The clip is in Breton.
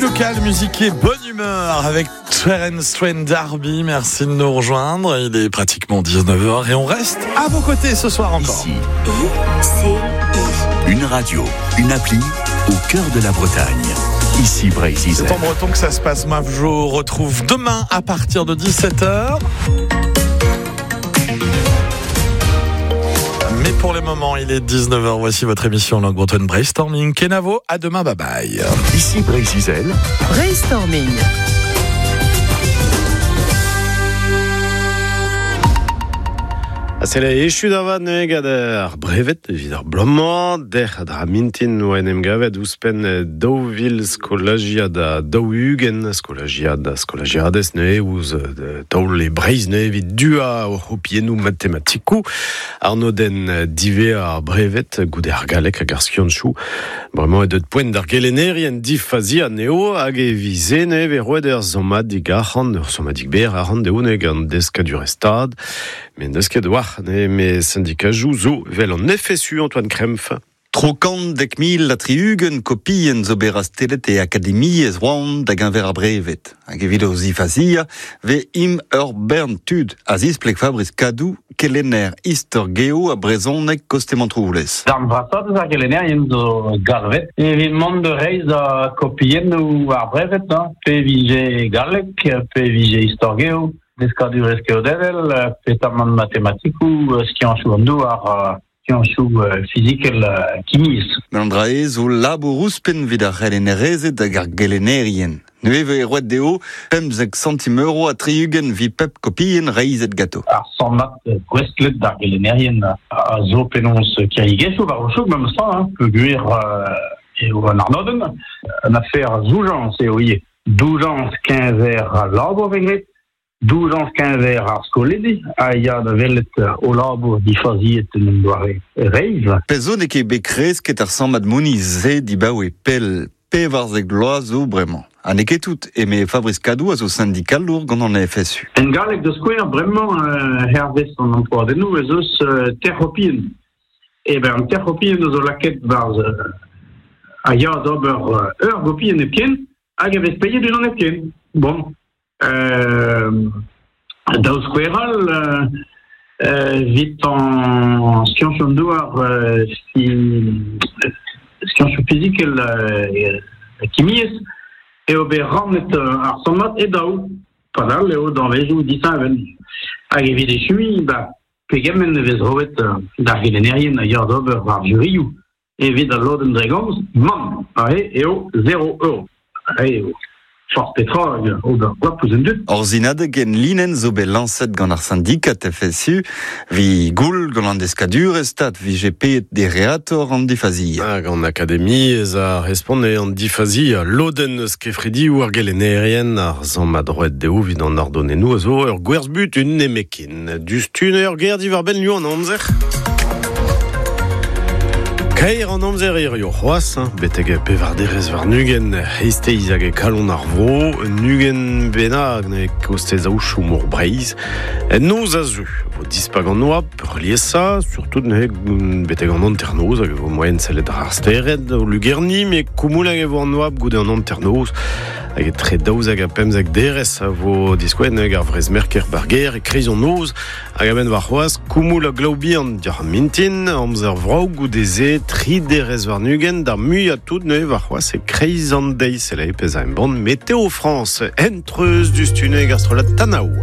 Local, musique et bonne humeur avec Terence Trent D'Arby. Merci de nous rejoindre. Il est pratiquement 19h et on reste à vos côtés ce soir encore. Ici, I, C, I. une radio, une appli au cœur de la Bretagne. Ici Breizh C'est en breton que ça se passe. Moi, je vous retrouve demain à partir de 17h. Mais pour le moment, il est 19h. Voici votre émission Langue bretonne Brainstorming. Kenavo, à demain, bye bye. Ici Breizh Brainstorming. A sele echu da vat neuze gant ar brevet evit ar bloaz-mañ, dec'h dra mintin oa en em gavet ouzhpenn 2000 skolajiad ha 40 skolajiad ha skolajiadez neuze ouzh taol e Breizh neuze evit duañ o c'hopiennoù matematikoù. Arnodenn diwezhañ ar brevet goude ar galleg hag ar skianchoù. Bremañ eo deuet poent d'ar gelennerien difaziañ anezho hag e vize neuze vez roet ur sammadig arc'hant, ur sammadig berr arc'hant dezho neuze gant deskadurezh Stad. Met n'eus ket war ne syndikajoù zo evel an FSU Antoine Krempf. Tro kant dek mil ha tri-ugent kopien zo bet rastellet e akademiezh Rouen da geñver ar brevet. Hag evit o zifaziañ vez im ur bern tud a zispleg Fabrice Kadou, kelenner istor geo ha brezhoneg koste Montroulez. Darn vrasañ deus ar gelennerien zo galvet evit mont da reizhañ kopiennoù ar brevet, hein, pe vije galleg, pe vije istor geo, deskadurezh keodedel, petamant matematikoù, skianchoù an douar, skianchoù fizikel, kimiezh. Met an dra-se zo labour ouzhpenn evit ar c'helennerezed hag ar gelennerien. Neuze e vez roet dezho 15 santim euro ha 60 evit pep kopienn reizhet ganto. Ar sammad gouestlet d'ar gelennerien a zo penaos kiriegezhioù war o chouk memes tra, hein, peogwir eo an arnodenn. Un afer a zoujañs eo ivez. Doujañs keñver al labour vez graet, doujañs keñver ar skolidi a ya da welet o labour difaziet en un doare reizh. Pezh zo n'eo ket bet kresket ar sammad mouniz-se dibaoe pell 14 vloaz zo bremañ. Ha n'eo ket tout, eme Fabrice Kadou a zo sindikalour gant an FSU. En galleg da skouer, bremañ, hervez an empoadennoù, ez eus teir c'hopienn. Eh ben, an teir c'hopienn a zo lakaet barzh a ya d'ober ur gopienn hepken hag a vez paeet unan hepken. Bon. Daou skouer all, evit an skianchoù an douar, skianchoù fizikel kimiezh, eo bet rannet ar sammad e daou. Padal eo danvezioù disheñvel. Hag evit echuiñ, ba, pegement e vez roet d'ar gelennerien a ya d'ober ar jurioù evit al lodenn dre gomz? Mann, aze eo 0 euro. Aze eo forzh petra hag ober goap ouzh an dud. Ur sinadeg en linenn zo bet lañset gant ar sindikat FSU evit goul gant an deskadurezh Stad vije paeet dereatoc'h an difaziañ. Hag an akademiezh a respont eo an difaziañ lodenn eus kefridioù ar gelennerien ar sammad roet dezho evit an ardonennoù a zo ur gwerzh-butun nemetken. Diouzhtu ur ger diwar-benn liv an amzer. Kaer an amzer hirio c'hoazh, hein, betek pevar derez warn-ugent eizhteiz hag e kalon ar vro, un ugent bennak ne kostez aochoù mor Breizh. En noz a zeu vo dispak an oabl peurliesañ, surtout neuze betek an hanternoz hag e vo moaien sellet ar stered o lugerniñ, met koumoul hag e vo an oabl goude an hanternoz. Hag etre 12 ha 15 derez a vo diskouezet hag ar vrezh-merker bar gêr e-kreiz an noz. Hag a-benn warc'hoazh, koumoul ha glav bihan dioc'h ar mintin, amzer vrav goude-se, tri derez warn-ugent, d'ar muiañ tout neuze warc'hoazh e-kreiz an deiz. Selaouit pezh a embann Météo France. Hent-treuz diouzhtu neuze ar strollad Tanav.